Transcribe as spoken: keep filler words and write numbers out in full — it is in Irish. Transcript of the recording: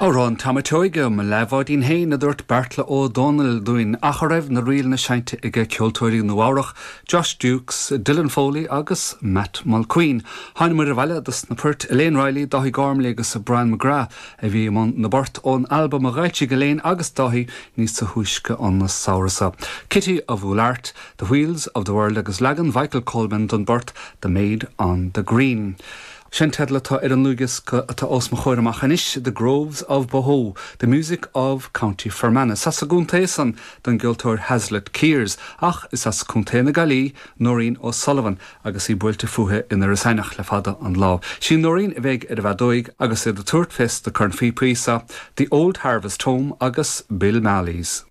Amhrán Tom Óige mo leathbháidín féin a dúirt Beartla Ó Domhnaill dúinn ach a raibh na ríleanna seinnte aige ceoltóirí Nua-Eabhrac, Josh Dukes, Dylan Foley agus Matt Mulqueen. Thángamar abhaile dos na poirt Elaine Riley, Dáithí Gormley agus Brian McGrath a bhí i mbun na bport ón albam a d'fhoilsigh Elaine agus Dáithí níos túisce an samhradh seo. Kitty of Oulart, The Wheels of the World agus leagan Michael Coleman den bport The Maid on the Green. Sin teideal atá ar an dlúthdhiosca atá os mo chomhair amach anois, The Groves of Bohoe, The Music of County Fermanagh. Is as an gcontae san don gceoltóir Hazlitt Kears, ach is as Contae na Gaillimhe Nóirín O'Sullivan agus í buailte fúithi in Iorras Aithneach le fada an lá. Sí Nóirín a bheidh ar an bhfeadóig agus iad ag tabhairt fés na cornphíopaí sa, The Old Harvest Home agus Bill Marley's.